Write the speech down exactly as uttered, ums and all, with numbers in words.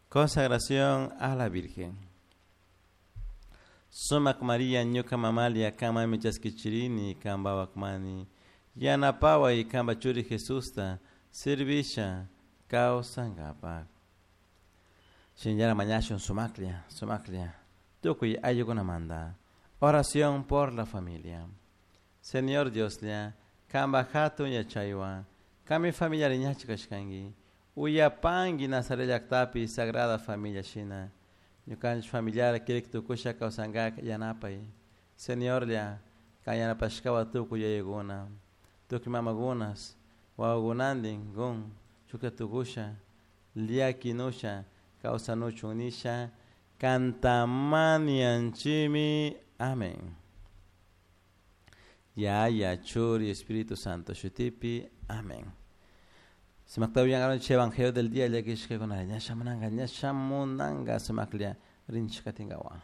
Consagración a la Virgen. Sumac María ñuka mamalia kanmanmi chaskichirini kanpa wakmani yanapaway kanpa churi Jesusta servisha kawsankapak. Shinallara mañashun sumaklla, sumaklla, tukuy ayllukunamanta. Oración por la familia. Señor Dioslla, kanpa hatun yachaywan, kanmi familia ñachi kashkanki, uyapanki Nazaret llaktapi Sagrada Familia shina, ñukanchik familiar kirik tukusha kawsankak yanapay. Señorlla, kan yanapashkawan tukuy yayakuna, tukuy mamakunas, wawakunantin kun shukta tukusha, llakinusha, kawsanuchun nisha, kantamanianchimi. Amén. Yaya, Churi, Espíritu Santo, shutipi. Amén. Sumakta uyangaron evangelio del día llakishkakuna ña shamunanga ña shamunanga sumaklla rinchik katinkawa.